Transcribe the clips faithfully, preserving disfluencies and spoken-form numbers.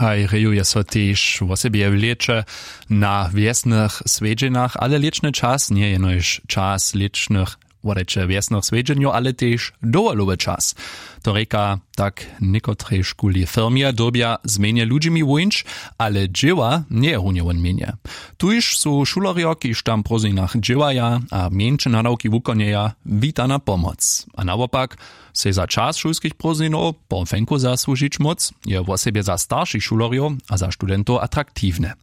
Haj rejuje so tež wosebje w lěće na wjesnych swjedźenjach, ale lěćny čas njeje jenož čas lěćnych wodajće wjesnych swjedźenjow, ale tež dowolowy čas. To rěka tak, někotrej šuli firmje dyrbja změnje ludźimi wuńć, ale dźěła njeje runje wón měnje. Tuž su šulerjo kiž tam w prózdninach dźěłaja a mjeńše nadawki wukonjeja, witana pomoc. A nawopak, sej za čas šulskich prózdninow po fenku zasłužić móc je wosebje za staršich šulerjow a za studentow atraktiwne.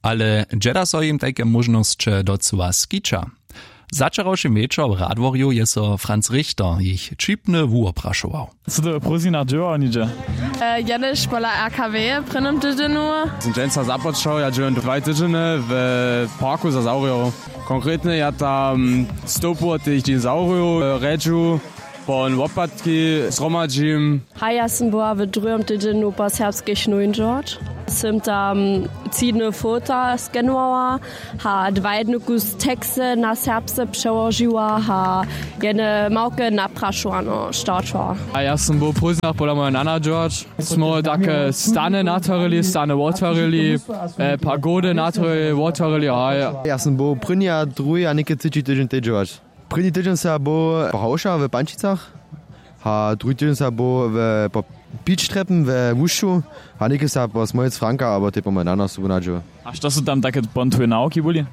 Ale dźeda so jim tajke móžnosće docyła skića? Začerawšim wječor w radworju je so franz richter jich ćipny wuwoprašował. Sy ty w prózdninach dźěłał něhdźe? Jenož pola rkw w prěnim tydźenju. Sym dźensa započał, ja dźěłam dwaj tydźenje w parku za zawrjow. Konkretnje ja tam stołpu wot tych dinosaurijow rjedźu, pon wopatki zhromadźim. Haj ja sym była w druhim tydźenju po serbskich nowinčorć. Sym tam tři dny fota skenowała, ha dwa jedny kus teksty na serbsce přełožiła, ha jedne małke naprašowano startła. A ja sym był w prózdninach pola moje nana dźěłać. Smy take stany natwarili, stany wotwarili, pagody natwarili, wotwarili, haj. Ja sym był prěni a druhi a něke třeći tydźeń tej dźěłać. Prěni tydźeń se ja był po hawša w pančicach, a druhi tydźeń se ja był w po pičtrepem we łušću, a něke se ja po smojec franka abo tej po moje nana sobu nadźěł. A što su tam take pon twoje nawki byli?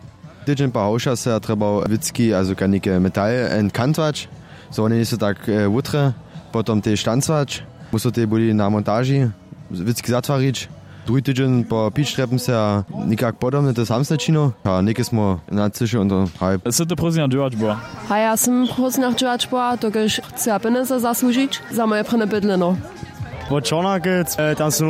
Tydźeń po hawša se ja trjebał wěcki a zukajnike metal enkantwać, zo wone njejsu tak wutre. Potom tež tancwać, musu tej byli na montaži wěcki zatwarić. Druhi tydźeń po pičtrepem se ja někak podobne to samsne činił a něke smo nacyšili on to haj. Sy ty prózdninach dźěłać była? Haj ja sym prózdninach dźěłać była dokelž chcyła pjenjezy zasłužić za moje prěnje bydleno. Wot čornakec tam su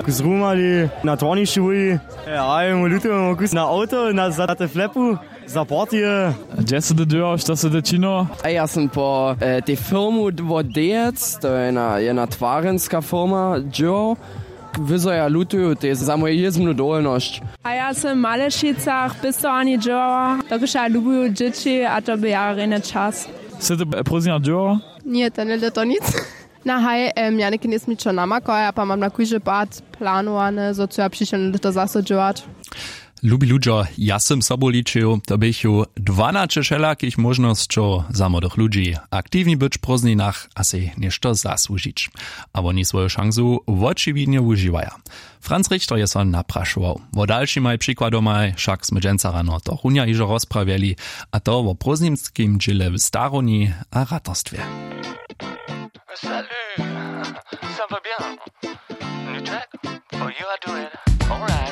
zrumali na twarnišću byli. Haj mój luty mój kus na awto na za te flepu. Za partije. Hdźe sy ty dźěłał, što sy ty činił? A ja sym po tej firmu wot dejec, to je jedna twarjenska firma, dźěłał. Wy zo ja lutuju tej za moju jězbnu dowolnosć. A ja sym w malešicach pěstowarni dźěłała, dokelž ja lubuju dźěći a to by ja rjenje čas. Sy ty prózdninach dźěłał? Ně, to njehle to nic. Na haj, ja něke njejsmičo namakała ja pa mam na kóždy pad planowane zo chcu ja přišelne lěto zaso dźěłać. Lubi ludźo, ja sym sobu ličił, to běchu dwanaće wšelakich móžnosćow za młodych ludźi, aktiwni być w prózdninach a sej něšto zasłužić. A woni swoju šansu wočiwidnje wužiwaja. Franz richter je so naprašował. Wo dalšimaj přikładomaj wšak smy dźensa rano to runja hižo rozprawjeli, a to wo prózdninskim dźěle w starowni a ratarstwje. Salut, ça va bien? New track? Oh, you are doing alright.